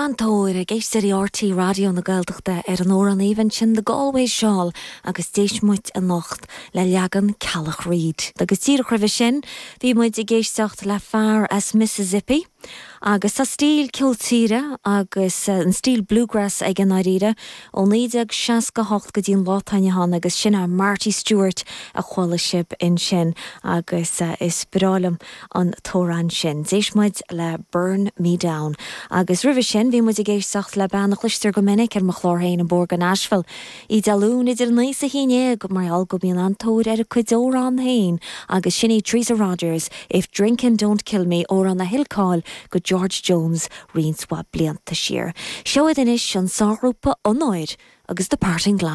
An-tóir ag éisteoirí RTÉ Raidió na Gaeltachta ar an amhrán aoibhinn sin The Galway Shawl agus d'éist muid anocht le leagan Ceallach Reid. Agus díreach roimhe sin bhí muid ag éisteacht le fear as Mississippi agus tá stíl ceol tíre agus an stíl bluegrass aige i ndáiríre ó 1968 go dtí an lá atá inniu ann agus sin é Marty Stuart a chuala sibh ansin agus is breá liom an t-amhrán sin. D'éist muid le Burn Me Down. Agus roimhe sin bhí muid ag éisteacht le bean a chloistear go minic ar mo chlár féin, An Bóthar go Nashville. Í Dé Luain idir 9 is 11 mar gheall go mbíonn an-tóir ar a cuid amhrán féin agus sin í Teresa Rogers, If Drinkin' Don't Kill Me, amhrán a thuill cáil go George Jones roinnt mhaith blianta siar. Seo iad anois, an sárghrúpa Onóir agus The Parting Glass.